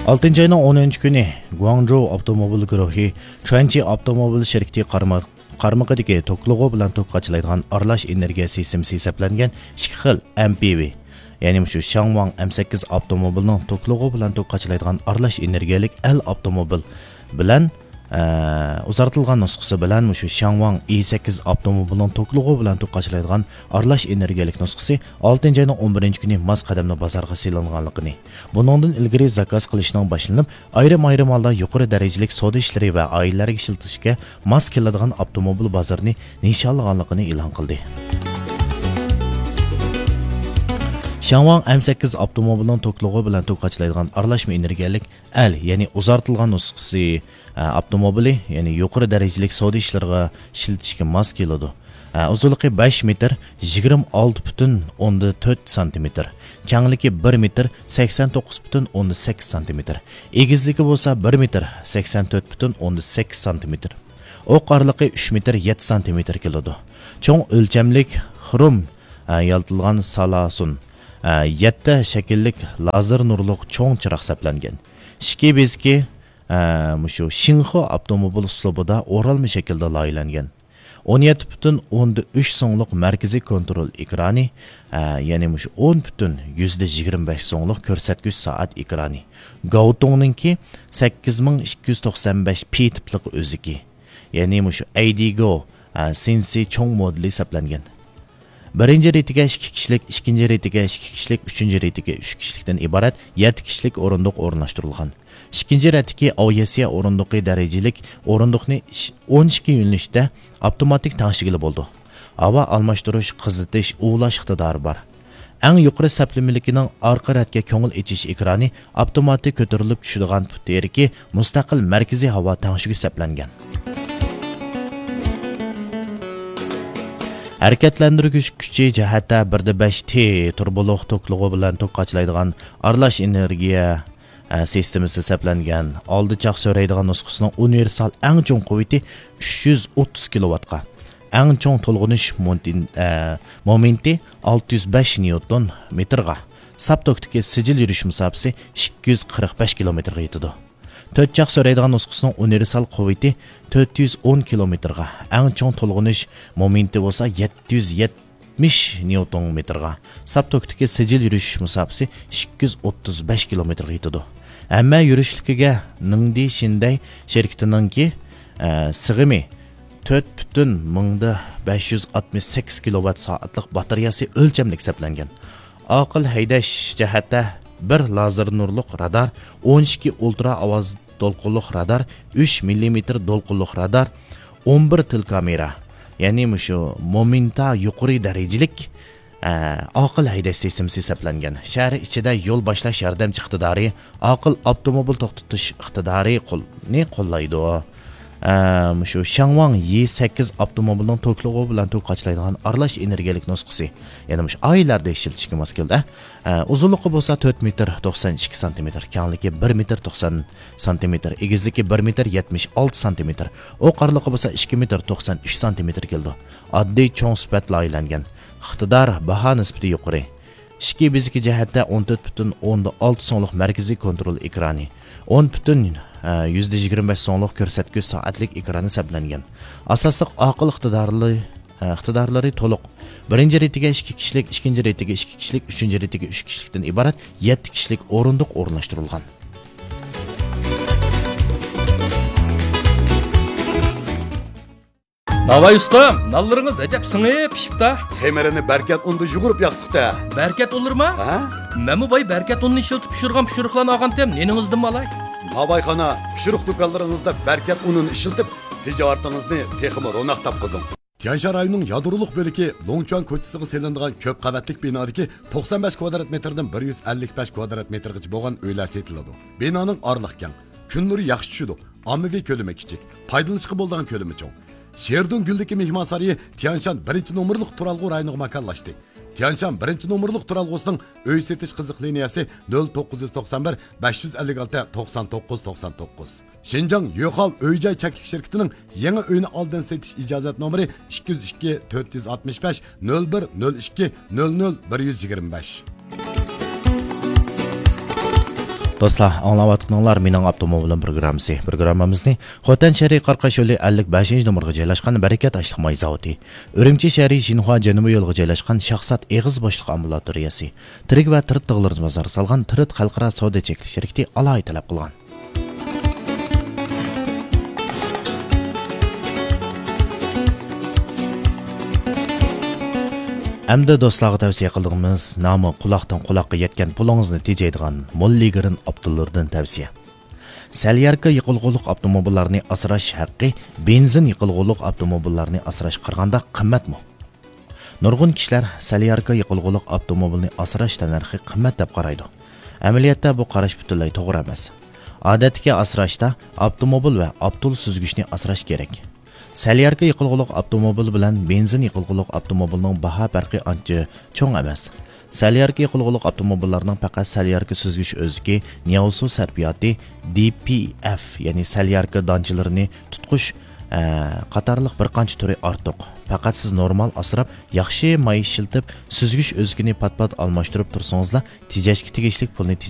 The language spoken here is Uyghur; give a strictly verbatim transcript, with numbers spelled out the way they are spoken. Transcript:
ئالتىنچى ئاينىڭ ئونىنچى كۈنى گۇاڭجۇ ئاپتوموبىل گۇرۇھى چۈەنچى ئاپتوموبىل شىركىتى قارما-، قارمىقىدىكى توكلىغۇ بىلەن توك قاچىلايدىغان ئارىلاش ئېنېرگىيە سىستېمىسى ھېسابلانغان ئىككى خىل ئېم پى ۋى، يەنى مۇشۇ شياڭۋاڭ ئېم سەككىز ئاپتوموبىلىنىڭ توكلىغۇ بىلەن توك قاچىلايدىغان ئارىلاش ئېنېرگىيەلىك ئەل ئاپتوموبىل بىلەن ئە، ئۇزارتىلغان نۇسخىسى بىلەن مۇشۇ شياڭۋاڭ ئى سەككىز ئاپتوموبىلىنىڭ توكلىغۇ بىلەن توك قاچىلايدىغان ئارىلاش ئېنېرگىيەلىك نۇسخىسى ئالتىنچى ئاينىڭ ئون بىرىنچى كۈنى ماس قەدەمدە بازارغا سېلىنغانلىقىنى، بۇنىڭدىن ئىلگىرى زاكاز قىلىشنىڭ باشلىنىپ، ئايرىم-ئايرىم ھالدا يۇقىرى دەرىجىلىك سودا ئىشلىرى ۋە ئائىلىلەرگە ئىشلىتىشكە ماس كېلىدىغان ئاپتوموبىل بازىرىنى نىشانلىغانلىقىنى ئېلان قىلدى. شياڭۋاڭ ئېم سەككىز ئاپتوموبىلىنىڭ توكلۇقى بىلەن توك قاچىلايدىغان ئارىلاشما ئېنېرگىيەلىك ئەل، يەنى ئۇزارتىلغان نۇسخىسى، ئە، ئاپتوموبىلى، يەنى يۇقىرى دەرىجىلىك سودا ئىشلىرىغا ئىشلىتىشكە ماس كېلىدۇ. ئە، ئۇزۇنلۇقى بەش مېتىر، يىگىرمە ئالتە پۈتۈن ئوندىن تۆت سانتىمېتىر، كەڭلىكى بىر مېتىر، سەكسەن توققۇز پۈتۈن ئوندىن سەككىز سانتىمېتىر، ئېگىزلىكى بولسا بىر مېتىر، سەكسەن تۆت پۈتۈن ئوندىن سەككىز سانتىمېتىر، ئوق ئارىلىقى ئۈچ مېتىر، يەتتە سانتىمېتىر كېلىدۇ. چوڭ ئۆلچەملىك خروم، ئە، يالتىلغان سالاسۇن، ئە، يەتتە شەكىللىك لازېر نۇرلۇق چوڭ چىراغ سەپلەنگەن. ئىچكى بېزىكى، ئە، مۇشۇ شىنخې ئاپتوموبىل ئۇسلۇبىدا ئورالما شەكىلدە لايىھەلەنگەن. ئون يەتتە پۈتۈن ئوندىن ئۈچ سۇڭلۇق مەركىزىي كونترول ئېكرانى، ئە، يەنى مۇشۇ ئون پۈتۈن يۈزدە يىگىرمە بەش سۇڭلۇق كۆرسەتكۈچ سائەت ئېكرانى، گاۋتۇڭنىڭكى سەككىز مىڭ ئىككى يۈز توقسان بەش پى تىپلىق ئۆزىكى، يەنى مۇشۇ ئەيدىگو، ئە، سىنسى چوڭ مودېلى سەپلەنگەن. بىرىنچى رېتىگە ئىككى كىشىلىك، ئىككىنچى رېتىگە ئىككى كىشىلىك، ئۈچىنچى رېتىگە ئۈچ كىشىلىكتىن ئىبارەت يەتتە كىشىلىك ئورۇندۇق ئورۇنلاشتۇرۇلغان. ئىككىنچى رەتتىكى ئاۋىئاتسىيە ئورۇندۇقى دەرىجىلىك ئورۇندۇقنى ئىش-، ئون ئىككى يۆنىلىشتە ئاپتوماتىك تەڭشىگىلى بولىدۇ. ھاۋا ئالماشتۇرۇش، قىزىتىش، ئۇۋۇلاش ئىقتىدارى بار. ئەڭ يۇقىرى سەپلىمىلىكىنىڭ ئارقا رەتكە كۆڭۈل ئېچىش ئېكرانى ئاپتوماتىك كۆتۈرۈلۈپ چۈشىدىغان پۇت تېرىكى مۇستەقىل مەركىزىي ھاۋا تەڭشىگۈچ سەپلەنگەن. ھەرىكەتلەندۈرگۈچ كۈچى جەھەتتە بىردە بەش تى تۇربولۇق توكلۇقى بىلەن توك قاچىلايدىغان ئارىلاش ئېنېرگىيە، ئە، سىستېمىسى سەپلەنگەن. ئالدى چاق سۆرەيدىغان نۇسخىسىنىڭ ئۇنىۋېرسال ئەڭ چوڭ قۇۋۋىتى ئۈچ يۈز ئوتتۇز كىلوۋاتقا، ئەڭ چوڭ تولغىنىش مونتىن-، ئە، مومېنتى ئالتە يۈز بەش نيۇتون مېتىرغا، ساپ توكتىكى سىجىل يۈرۈش مۇساپىسى ئىككى يۈز قىرىق بەش كىلومېتىرغا يېتىدۇ. تۆت چاق سۆرەيدىغان نۇسخىسىنىڭ ئۇنىۋېرسال قۇۋۋىتى تۆت يۈز ئون كىلومېتىرغا، ئەڭ چوڭ تولغىنىش مومېنتى بولسا يەتتە يۈز يەتمىش نيۇتون مېتىرغا، ساپ توكتىكى سىجىل يۈرۈش مۇساپىسى ئىككى يۈز ئوتتۇز بەش كىلومېتىرغا يېتىدۇ. ھەممە يۈرۈشلۈكىگە نىڭدى شىندەي شىركىتىنىڭكى، ئە، سىغىمى تۆت پۈتۈن مىڭدا بەش يۈز ئاتمىش سەككىز كىلوۋات سائەتلىك باتارېيەسى ئۆلچەملىك سەپلەنگەن. ئاقىل ھەيدەش جەھەتتە بىر لازېر نۇرلۇق رادار، ئون ئىككى ئۇلترا ئاۋاز دولقۇنلۇق رادار، ئۈچ مىللىمېتىر دولقۇنلۇق رادار، ئون بىر تېلېكامېرا، يەنى مۇشۇ مومېنتا يۇقىرى دەرىجىلىك، ئە، ئاقىل ھەيدەش سىستېمىسى ھېسابلانغان. شەھەر ئىچىدە يول باشلاش ياردەمچى ئىقتىدارى، ئاقىل ئاپتوموبىل توختىتىش ئىقتىدارى قول-، نى قوللايدۇ. ئە، مۇشۇ شياڭۋاڭ يى سەككىز ئاپتوموبىلىنىڭ توكلۇقى بىلەن توك قاچىلايدىغان ئارىلاش ئېنېرگىيەلىك نۇسخىسى. يەنى مۇشۇ ئائىلىلەردە ئىشلىتىشكە ماس كېلىدۇ. ئە، ئۇزۇنلۇقى بولسا تۆت مېتىر توقسان ئىككى سانتىمېتىر، كەڭلىكى بىر مېتىر توقسان سانتىمېتىر، ئېگىزلىكى بىر مېتىر يەتمىش ئالتە سانتىمېتىر، ئوق ئارىلىقى بولسا ئىككى مېتىر توقسان ئۈچ سانتىمېتىر كېلىدۇ. ئاددىي چوڭ سۈپەت لايىھەلەنگەن. ئىقتىدار، باھا نىسبىتى يۇقىرى. ئىچكى بېزىكى جەھەتتە ئون تۆت پۈتۈن ئوندىن ئالتە سۇڭلۇق مەركىزىي كونترول ئېكرانى، ئون پۈتۈن، ئە، يۈزدە يىگىرمە بەش سۇڭلۇق كۆرسەتكۈچ سائەتلىك ئېكرانى سەپلەنگەن. ئاساسلىق ئاقىل ئىقتىدارلى، ئە، ئىقتىدارلىرى تولۇق. بىرىنچى رېتىگە ئىككى كىشىلىك، ئىككىنچى رېتىگە ئىككى كىشىلىك، ئۈچىنچى رېتىگە ئۈچ كىشىلىكتىن ئىبارەت يەتتە كىشىلىك ئورۇندۇق ئورۇنلاشتۇرۇلغان. ناۋاي ئۇستام، نانلىرىڭىز ئەجەب سىڭىپ پىشىپتا. خېمىرىنى بەركەت ئۇندا يۇغۇرۇپ ياقتۇق-دە. بەركەت ئۇنلىرىما؟ ھە؟ مەنمۇ باي بەركەت ئۇنىنى ئىشلىتىپ پىشۇرغان پىشۇرۇقلارنى ئالغانتىم، نېنىڭىزدىنمۇ ئالاي؟ ناۋايخانا، پىشۇرۇق دۇكانلىرىڭىزدا بەركەت ئۇنىنى ئىشلىتىپ، تىجارىتىڭىزنى تېخىمۇ روناق تاپقۇزۇڭ. تيەنشان رايونىنىڭ يادرولۇق بۆلىكى لۇڭچۈەن كوچىسىغا سېلىنىدىغان كۆپ قەۋەتلىك بىنادىكى توقسان بەش كۋادرات مېتىردىن بىر يۈز ئەللىك بەش كۋادرات مېتىرغىچە بولغان ئۆيلەر سېتىلىدۇ. بىنانىڭ ئارىلىقى كەڭ، كۈن نۇرى ياخشى چۈشىدۇ، ئاممىۋى كۆلىمى كىچىك، پايدىلىنىشقا بولىدىغان كۆلىمى چوڭ. شېردۇڭ گۈللۈكى مېھمانسارىيى تيەنشان بىرىنچى نومۇرلۇق تۇرالغۇ رايونىغا ماكانلاشتى. تيەنشان بىرىنچى نومۇرلۇق تۇرالغۇسىنىڭ ئۆي سېتىش قىزىق لىنىيەسى نۆل توققۇز يۈز توقسان بىر، بەش يۈز ئەللىك ئالتە، توقسان توققۇز، توقسان توققۇز. شىنجاڭ يۆخاۋ ئۆي جاي چەكلىك شىركىتىنىڭ يېڭى ئۆينى ئالدىن سېتىش ئىجازەت نومۇرى ئىككى يۈز ئىككى، تۆت يۈز ئاتمىش بەش، نۆل بىر، نۆل ئىككى، نۆل نۆل، بىر يۈز يىگىرمە بەش. دوستلار، ئاڭلاۋاتقىنىڭلار مېنىڭ ئاپتوموبىلىم پروگراممىسى. پروگراممىمىزنى خوتەن شەھىرى قارقاش يولى ئەللىك بەشىنچى نومۇرغا جايلاشقان بەرىكەت ئاشلىق ماي زاۋۇتى، ئۈرۈمچى شەھىرى شىنخۇا جەنۇبىي يولىغا جايلاشقان شاھزات ئېغىز بوشلۇق ئامبۇلاتورىيەسى، تىرىك ۋە تىرىت تىغلىرىدا بازار سالغان تىرىت خەلقئارا سودا چەكلىك شىركىتى ئالاھىدە تەلەپ قىلغان. ئەمدى دوستلارغا تەۋسىيە قىلىدىغىنىمىز نامى قۇلاقتىن قۇلاققا يەتكەن پۇلىڭىزنى تېجەيدىغان موللىگرىن ئاپتولىرىدىن تەۋسىيە. سەلياركا يېقىلغۇلۇق ئاپتوموبىللارنى ئاسراش ھەققى بېنزىن يېقىلغۇلۇق ئاپتوموبىللارنى ئاسراشقا قارىغاندا قىممەتمۇ؟ نۇرغۇن كىشىلەر سەلياركا يېقىلغۇلۇق ئاپتوموبىلنى ئاسراش تەننەرخى قىممەت دەپ قارايدۇ. ئەمەلىيەتتە بۇ قاراش پۈتۈنلەي توغرا ئەمەس. ئادەتتىكى ئاسراشتا ئاپتوموبىل ۋە ئاپتول سۈزگۈچنى ئاسراش كېرەك. سەلياركا يېقىلغۇلۇق ئاپتوموبىل بىلەن بېنزىن يېقىلغۇلۇق ئاپتوموبىلنىڭ باھا پەرقى ئانچە چوڭ ئەمەس. سەلياركا يېقىلغۇلۇق ئاپتوموبىللارنىڭ پەقەت سەلياركا سۈزگۈچ ئۆزىكى، نياۋسۇ سەرپىياتى، دى پى ئەف، يەنى سەلياركا دانچىلىرىنى تۇتقۇچ، ئە، قاتارلىق بىر قانچە تۈرى ئارتۇق. پەقەت سىز نورمال ئاسراپ، ياخشى ماي ئىشلىتىپ، سۈزگۈچ ئۆزىكىنى پات-پات ئالماشتۇرۇپ تۇرسىڭىزلا، تېجەشكە تېگىشلىك پۇلنى